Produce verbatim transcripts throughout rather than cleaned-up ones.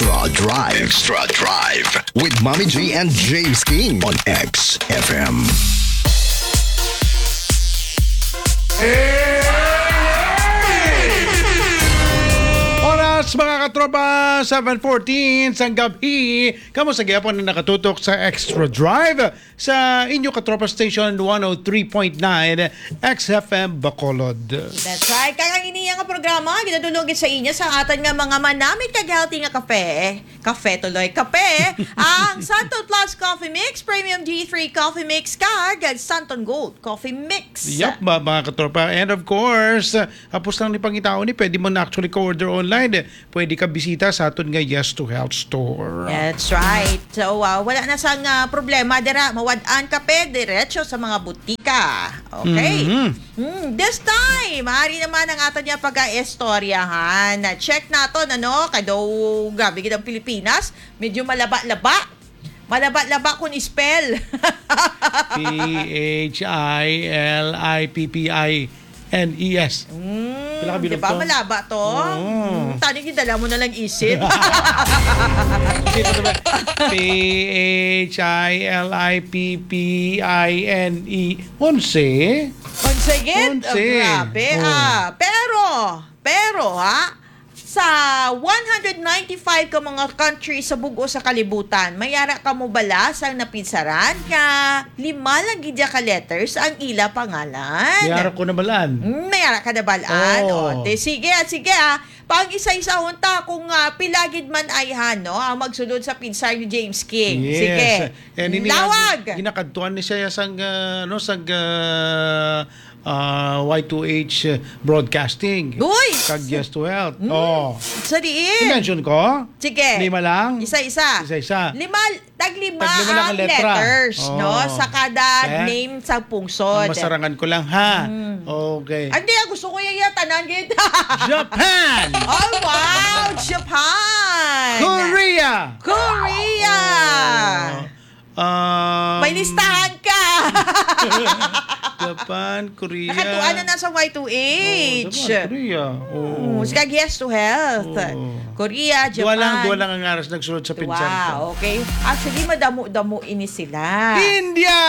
Extra Drive. Extra Drive with Mommy G and James King on X F M. Oras, mga katropa, seven fourteen sang gabi. Kamo sa gihapon na nakatutok sa Extra Drive sa inyo katropa station, one oh three point nine X F M Bacolod. That's right. Kag ang iniya nga programa, ginadulog sa inyo sa atan nga mga manamit kag healthy nga kape. Kape tuloy. Kape, ang Santon Plus Coffee Mix, Premium D three Coffee Mix, kag Santon Gold Coffee Mix. Yup, ma-, mga katropa. And of course, uh, hapos lang ni pangitaon ni, pwede mo na actually ka-order online. Eh. Pwede ka bisita sa aton nga Yes to Health Store. That's right. So, uh, wala na sang, uh, problema dira. Mawad-an kape diretso sa mga butika. Okay? Mhm. Hmm, this time, maaari naman ang aton nga pag-aistoryahan. Check naton, ano? Kay daw, grabe gid ang Pilipinas. Medyo malaba-laba. Malaba-laba kung spell. P H I L I P P I N E S. Mm, Pila ka bilog di ba? To? Malaba to. Oo. Mm, tani, gidala mo na lang isip. P H I L I P P I N E. Onse? Onse gid? Onse. Oh, grabe, oh, ah. Pero, pero, ha? Sa one hundred ninety-five ka mga country sa bug-os sa kalibutan, may ara ka mo bala sang napinsaran nga lima lang gid ya ka letters ang ila pangalan? May ara ko nabalaan. Mm, may ara ka nabalaan. Oh. O, te, sige, ah, sige, ah. Pag-isa-isahon ta kung, ah, pila gid man ay han, no, ang magsulod sa pinsar ni James King. Yes. Sige. And ini Lawag! ang ginakadtuan ni siya sang, ah, ano, sang, ah, ah, Y two H Broadcasting. Uy! Kag Yes to Health. Mm. Oh. Sa diin? I-mention ko? Sige. Lima lang? Isa-isa. Isa-isa. Lima, taglima Taglima lang ang ang letra. letters, Oh. no? Sa kada Kaya, name sa pungsod. ang masarangan ko lang, ha? Mm. Okay. Hindi, ah, gusto ko yan, yan, tanan, gid. Japan! Oh, wow! Japan! Korea! Korea! Oh. Um, May listahan ka. Japan, Korea. Nakatuan na na sa Y two H. Oh, Japan, Korea. Oh. Mm, kag Yes to Health. Oh. Korea, Japan. Duha lang, duha lang ang aras nagsulod sa pinsar ko. Wow, okay. Actually, madamo-damo ini sila. India!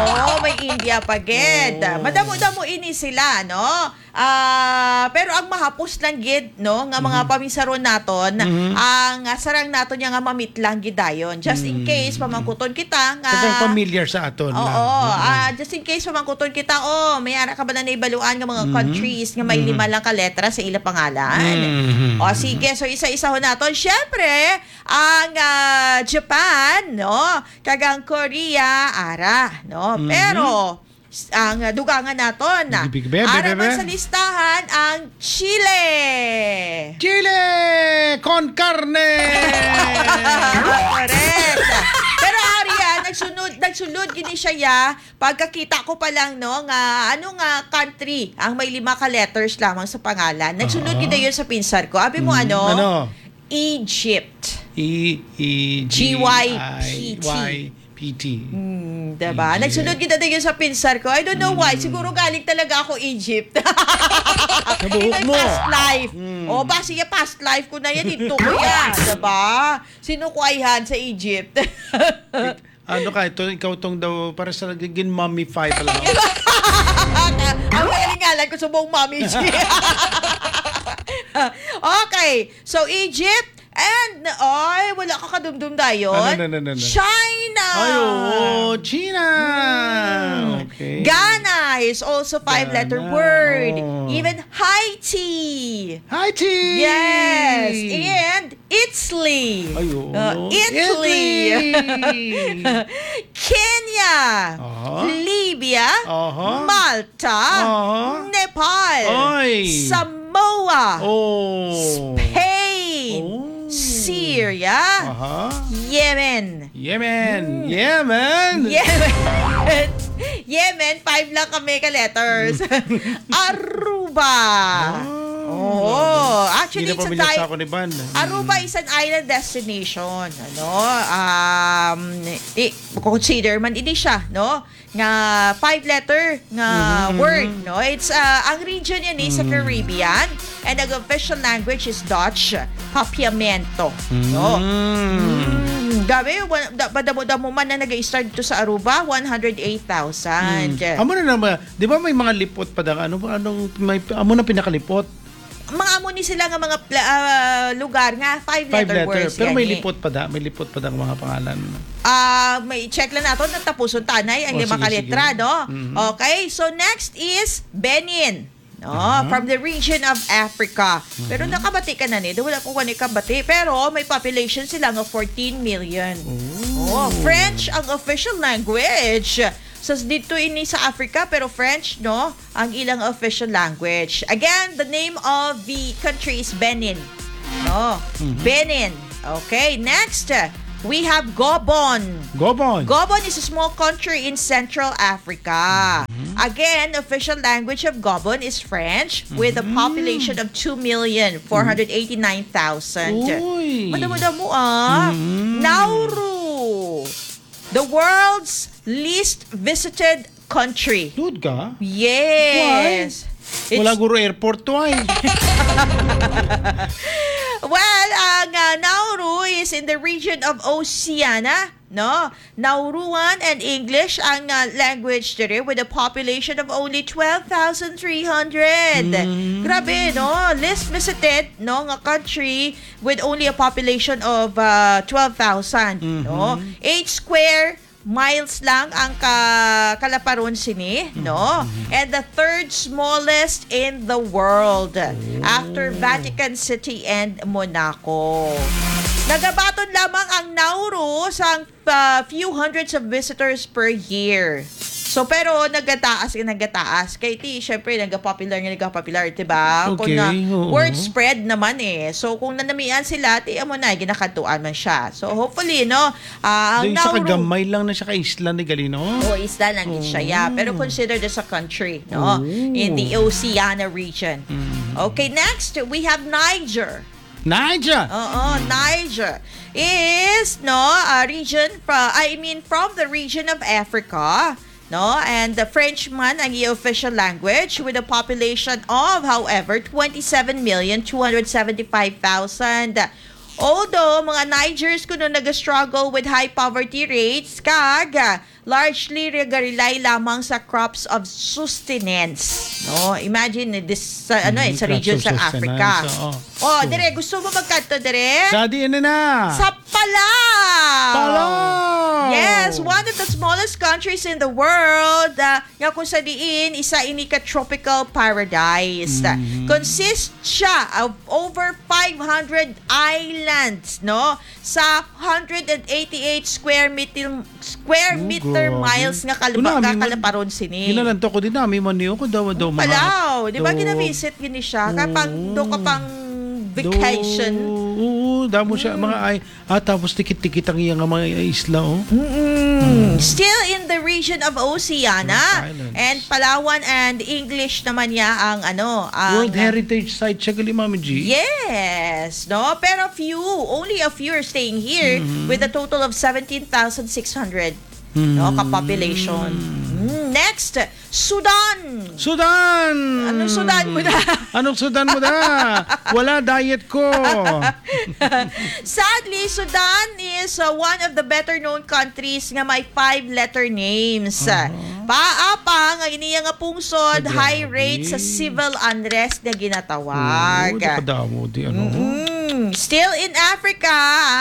Oo, may India pa gid. Oo. Madamo-damo ini sila, no? Ah, pero ang mahapos lang gid, no, nga mga Mhm. paminsaron naton, Mhm. ang, ah, sarang naton niya nga mamitlang gid dayon. Just in Mm. case, pamangkuton kita nga Kasi familiar sa aton Oo, lang. Oo. ah, just in case, pamangkuton kita, oh, may ara ka ba na naibaluan nga mga Mhm. countries nga may Mhm. lima lang ka letra sa ila pangalan? Mhm. O, sige, so isa-isahon naton. Siyempre, ang, ah, Japan, no? Kag ang Korea, ara, no? Mhm. Pero, s-, ang, ah, dugangan naton, ah, Bibi, bibi, bibi, ara man bibi. sa listahan, ang Chile. Chile con carne! Correct. Pero, ari, ah, nagsunod, nagsulod gini siya, ya, pagkakita ko pa lang, no, nga, ano nga country ang may lima ka letters lamang sa pangalan. Nagsunod Ah. gid yun sa pinsar ko. Abi mo, Mm, ano? ano? Egypt. E E G Y P T. G Y P T. Hmm, diba? Egypt. Nagsunod kita din yun sa pinsar ko. I don't know why. Mm. Siguro galing talaga ako Egypt. Sa buhok In my mo. past life. Mm. O, ba siya past life ko na yan. Ito ko yan. Diba? Sino ko ayhan sa Egypt? Ano ka, ito, ikaw tong daw, para sa nagiging mummify pala. Ang kalingalan ko sa buong mommy. Okay. So, Egypt, and, ay, wala ka kadumdum dayon. Ano, ano, ano, ano, ano? China! Ay, oo, China! Mm. Okay. Ghana is also five-letter Ghana. word. Oh. Even Haiti. Haiti! Yes. And Italy. Ay, oo, Uh, no? Italy. Italy. Kenya. Aha. Libya. Aha. Malta. Aha. Nepal. Ay. Samoa. Oh. Spain. Oh. Syria. Aha. Yemen. Yemen. Hmm. Yemen. Yemen. Yemen, five lang kami ka letters. Aruba. Ah. Oh. Oo. Grabe. Actually, Hindi na it's a familiar ti-, sa ako ni Van. Aruba Mm. is an island destination. Ano? Um, i-, consider man ini siya, no? Nga five-letter nga Mm-hmm. word, no? It's, uh, ang region yan eh, sa Mm. Caribbean. And ang official language is Dutch, Papiamento, no? Mm. Mm, grabe, wa-, da-, madamo-damo man na nag-start dito sa Aruba, one hundred eight thousand. Mm. Amo na naman, di ba may mga lipot pa dang, ano ba, anong, may, amo na pinakalipot? Mga amo ni sila nga mga pla-, ah, lugar nga five Five letter letter, words pero may gani. Lipot pa da, may lipot pa da ang mga pangalan. Ah, may check lang nato, natapuson tanay ang Oh, lima sige, ka letra, sige. No? Mhm. Okay, so next is Benin. No, Aha. From the region of Africa. Pero Mhm. nakabati ka na ni, wala ko kani kabati, pero may population sila nga fourteen million. Oh. Oh, French ang official language. Sa dito ini sa Africa, pero French, no? Ang ilang official language. Again, the name of the country is Benin. No? Mhm. Benin. Okay, next, uh, we have Gobon. Gobon. Gobon is a small country in Central Africa. Mhm. Again, official language of Gobon is French with a Mhm. population of two million four hundred eighty-nine thousand. Uy. Madamo-damo, ah. Mhm. Nauru. The world's least visited country. Tuod ka? Yes. Why? Wala It's guro airport to ay. Well, ang, ah, Nauru is in the region of Oceania, no? Nauruan and English ang, ah, language diri with a population of only twelve thousand three hundred. Mm. Grabe, no? Least visited, no, nga country with only a population of, ah, twelve thousand, no? Mhm. Eight square miles lang ang ka-, kalaparon sini, no? Mhm. And the third smallest in the world, after Oh. Vatican City and Monaco. Nagabaton lamang ang Nauru sa, uh, few hundreds of visitors per year. So, pero nagataas, nagataas. Kay ti, syempre, nagapopular nga nagapopular, di ba? Kung Okay, na, oo. Word spread naman eh. So, kung nanamian sila, ti, amo na, ginakadtuan man siya. So, hopefully, no, ah, ang Di, isa ka Nauru gamay lang na siya ka isla ni gali, no? Oh, isla lang gid siya, yeah. Oo. Pero considered as a country, no? Oo. In the Oceania region. Mm. Okay, next, we have Niger. Niger! Oo, Niger is, no, a region fro-, I mean, from the region of Africa, no? And the French man ang iya official language with a population of, however, twenty-seven million two hundred seventy-five thousand. Although, mga Nigers kuno nag-struggle with high poverty rates, kag, ah, largely nag-rely lamang sa crops of sustenance. No? Imagine, eh, this, sa, ano, eh, Mm, sa crops region of sa Africa. Sustenance, oo. Oh, So, dire, gusto mo magkadto dire? Sa diin na na? Sa Palau! Palau! Yes, one of the smallest countries in the world, ah, nga kung sa diin, isa ini ka tropical paradise. Mm. Consists siya of over five hundred islands, no? Sa hundred and eighty-eight square meter, square Oh, meter grabe. miles nga kalaba-, Una, kami man, kalaparon sini. Ginalanto ko din, nami man niyo ko daw, daw, mga Palau, di ba, daw ginavisit gini siya? Kaya pang, Oo. do ka pang vacation. Do, oo, damo siya, Mm. mga ay, ah, tapos tikit-tikit ang iya nga mga isla, oh. Mm-mm. Mm. Still in the region of Oceania, Islands. And Palawan and English naman niya ang, ano, ang World Heritage Site siya gali, Mami G. Yes, no? Pero few, only a few are staying here Mm-hmm. with a total of seventeen thousand six hundred, no, Mm. ka population. Mm, next, Sudan. Sudan! Anong Sudan mo na? Anong Sudan mo na? Wala, diet ko. Sadly, Sudan is, uh, one of the better known countries nga may five-letter names. Aha. Paapa nga iniya nga pungsod, Grabe. high rate sa civil unrest nga ginatawag. Oo, di kadamo di, ano? Mm-mm. Still in Africa,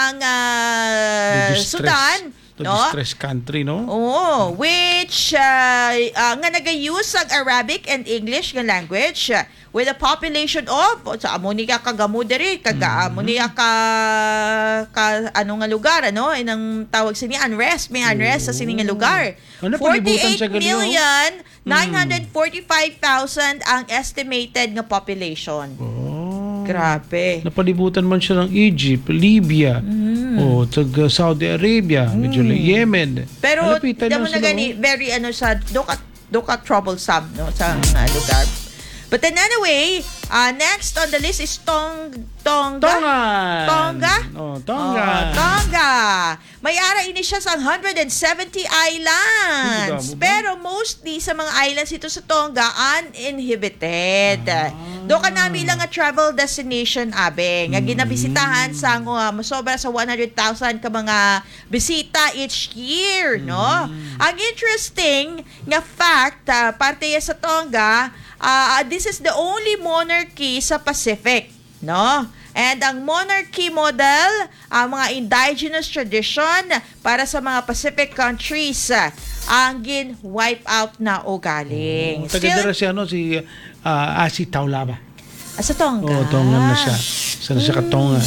ang, uh, The distress. Sudan, The no? distressed country, no? Oo, which, uh, uh, nga nag-use ang Arabic and English nga language, uh, with a population of, sa amo ni ka kagamo diri, kaga Mm. amo ni ka, ka, ano nga lugar, ano? Inang tawag sini, unrest, may unrest sa sini nga Oo. lugar. Ano, palibutan siya gali, oh. Forty-eight million nine hundred forty-five thousand ang estimated nga population. Oh. Grabe. Napalibutan man siya ng Egypt, Libya, Mm. o tag, uh, Saudi Arabia, medyo Mm. Yemen. Pero Malapitan damo lang na sila, gani, oh. very, ano, sa, do ka, do ka troublesome, no, sa mga lugar. But then anyway, uh, next on the list is Tong Tonga. Tongan. Tonga? Oh, Tonga. Oh, Tonga. May ara ini siya sa one hundred and seventy islands. Ay, damo ba? Pero mostly sa mga islands ito sa Tonga, uninhibited. Ah. Do ka nami lang nga travel destination, abe, nga Mm. ginabisitahan sa, uh, masobra sa one hundred thousand ka mga bisita each year, no? Mm. Ang interesting nga fact, ah, parte ya sa Tonga, ah, this is the only monarchy sa Pacific, no? And ang monarchy model, ang mga indigenous tradition para sa mga Pacific countries, ah, ang gin-wipe out na ugaling. Oh, taga Still dira si, ano, si, ah, Asi Taulaba. Ah, sa Tonga. Oo, Tongan na siya. Sa, sa Katonga.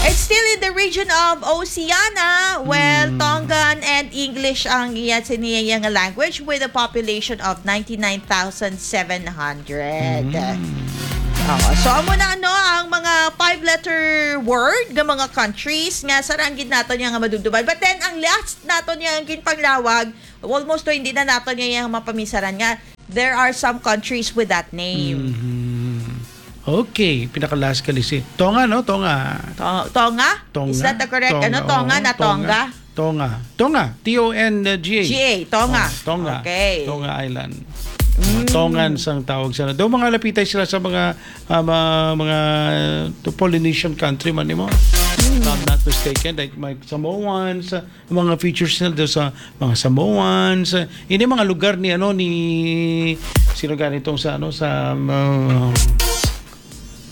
It's still in the region of Oceania. Well, Mm. Tongan and English ang iya, siniya nga language with a population of ninety-nine thousand seven hundred. Mm. Oo. So, amo na, ano, ang mga five-letter word nga mga countries nga sarang gid naton niya nga madumduman. But then, ang last naton niya ang ginpanglawag, almost to, hindi na naton niya yung mapamisaran nga there are some countries with that name. Mhm. Okay, pinaka-last ka, Lisi. Tonga, no? Tonga. To-, Tonga? Tonga? Is that the correct, Tonga, ano? Tonga oo, na Tonga. Tonga? Tonga. Tonga. T O N G A. G A, Tonga. Oh, Tonga. Okay. Tonga Island. Mm. Tongan sang tawag sa, daw mga lapitay sila sa mga, ah, ma-, mga, to Polynesian country man nimo. Mm. If I'm not mistaken, like, may Samoans, ah, mga features nila daw sa mga Samoans, ah, ini mga lugar ni, ano, ni, sino gani tong sa, ano, sa, um,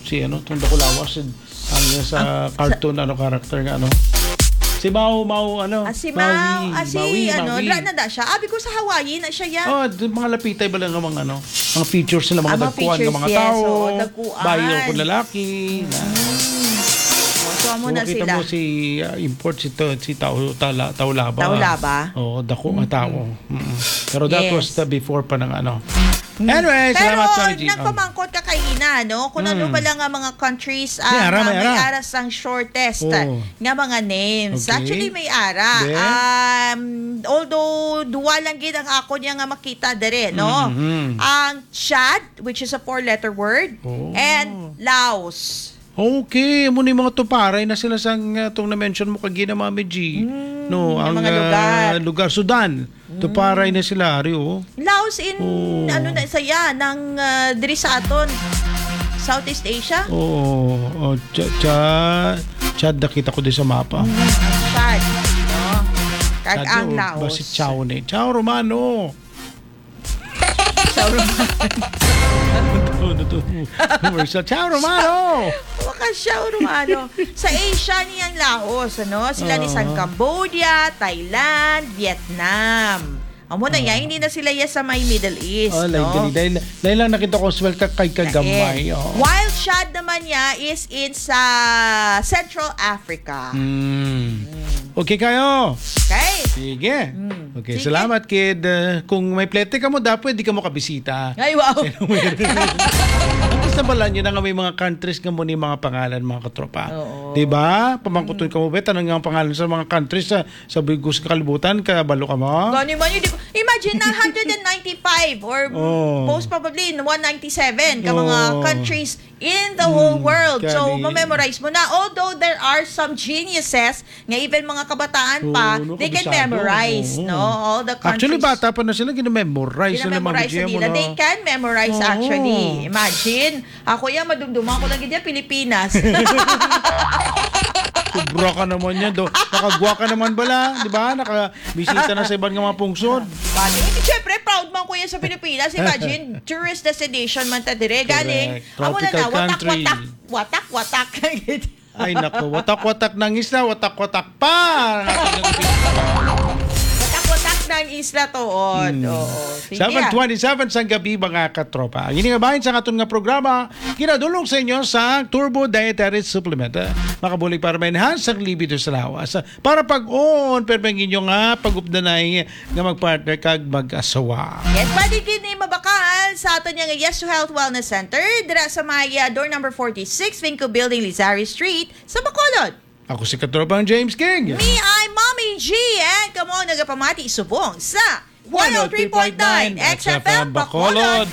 si, ano, tong dakulawas, ang sa Ang sa cartoon, ano, character nga, ano? Si Mau, Mau, ano? Ah, si Mau, Maui, ah, si, Maui, ano, Maui. Dra na da siya. Abi ko sa Hawaii na siya, ya. Oh, di, mga lapitay ba lang ang mga, ano, mga features nila, mga Ah, mga dagkuan nga features, mga yes, tao, oo, dagkuan. Bayo kung lalaki, na. Mm. Oh, so, amo na Kung kita sila. mo si, ah, import si to, si Tao, Tala-, Taulaba. Taulaba? Oo, dako nga Mm. tao. Mm. Pero that Yes. was the before pa ng, ano. Mm. Anyway, Pero salamat, Sir G. nagpamangkot ka kaina, no? Kung ano Mm. pala nga mga countries May ang, ara, ah, may may ara. ara sang shortest Oo. nga mga names. Okay. Actually, may ara. Then? Um, although duwa lang gid ang ako niya nga makita dere, no? Mm-hmm. Ang Chad, which is a four-letter word, Oh. and Laos. Okay, amo ni mga tuparay na sila sang, ah, tong na-mention mo kagina, Mami G. Mm, No, yung ang, mga ah, lugar. lugar, Sudan. Tuparay Mm. na sila, ari, oh. Laos in, Oh. ano na, saya, nang, ah, diri sa aton, Southeast Asia? Oo, oh, Cha-, Cha-, Chad, nakita ko din sa mapa. Mm, ang Chad, no? Kag Chad, ang oh, Laos. Basi Chao ni. Chao Romano. Chao Romano. Ano to? Ano to? Commercial. Chao Romano! Baka Chao Romano. Sa Asia niyang Laos, ano? Sila ni sang Oo. Cambodia, Thailand, Vietnam. Amo na Oo. yan, hindi na sila ya sa may Middle East, Oh, lain no? gani. Dahil, dahil lang nakita ko, swelta kay kagamay. Lain. Oo. While Chad naman niya is in sa Central Africa. Mm. Mm. Okay kayo. Okay. Sige. Mm. Okay, Sige. salamat, kid. Uh, kung may plete ka mo, dapat di ka mo kabisita. Ay, wow. At least nabala nyo na nga may mga countries nga mo ni mga pangalan, mga katropa. Oo. Di ba? Pamangkuton Mm. ka mo, be, tanang nga ang pangalan sa mga countries sa, sa bugos nga kalibutan, kabalo ka mo? Gani man yun, di ko, imagine na, hundred and ninety-five or Oh. most probably in one ninety-seven ka mga Oh. countries in the whole Hmm, world. So, kani. ma-memorize mo na. Although there are some geniuses nga even mga kabataan Oo, pa, no, they can kabisado. memorize, Oo. no? All the Actually, countries. bata pa na sila, gina-memorize na lang, Gina-memorize Mami G M, na nila. no? They can memorize, Oo. actually. Imagine, ako yan, madumduman ko lang gid yan, Pilipinas. Sobra ka naman yan, do. Nakagwa ka naman bala, di ba? Nakabisita na sa iban nga mga pungsod. Bali, siyempre, proud man ko yan sa Pilipinas. Imagine, tourist destination man ta dire. Galing, Correct. amo na Tropical na, watak, country. watak, watak, watak. Ay, nako, watak-watak ng isla, watak-watak pa. Watak-watak ng isla, tuod. Hmm. Oo. Sige. Seven twenty-seven sang gabi, mga katropa. Ang ini nga bahin sa aton nga programa, ginadulong sa inyo sa Turbo Dietary Supplement. Eh, makabulig para ma-enhance ang libido sa lawas. Para pag-on, pero ang inyo nga pag-updanay nga mag-partner kag mag-asawa. Yes, pwede kini mabakal sa aton nga Yes to Health Wellness Center, dira sa may, ah, door number forty-six, Vinco Building, Lizari Street, sa Bacolod. Ako si Katropang James King. Me, I'm Mommy G, and kamo nagapamati subong sa one oh three point nine X F M Bacolod.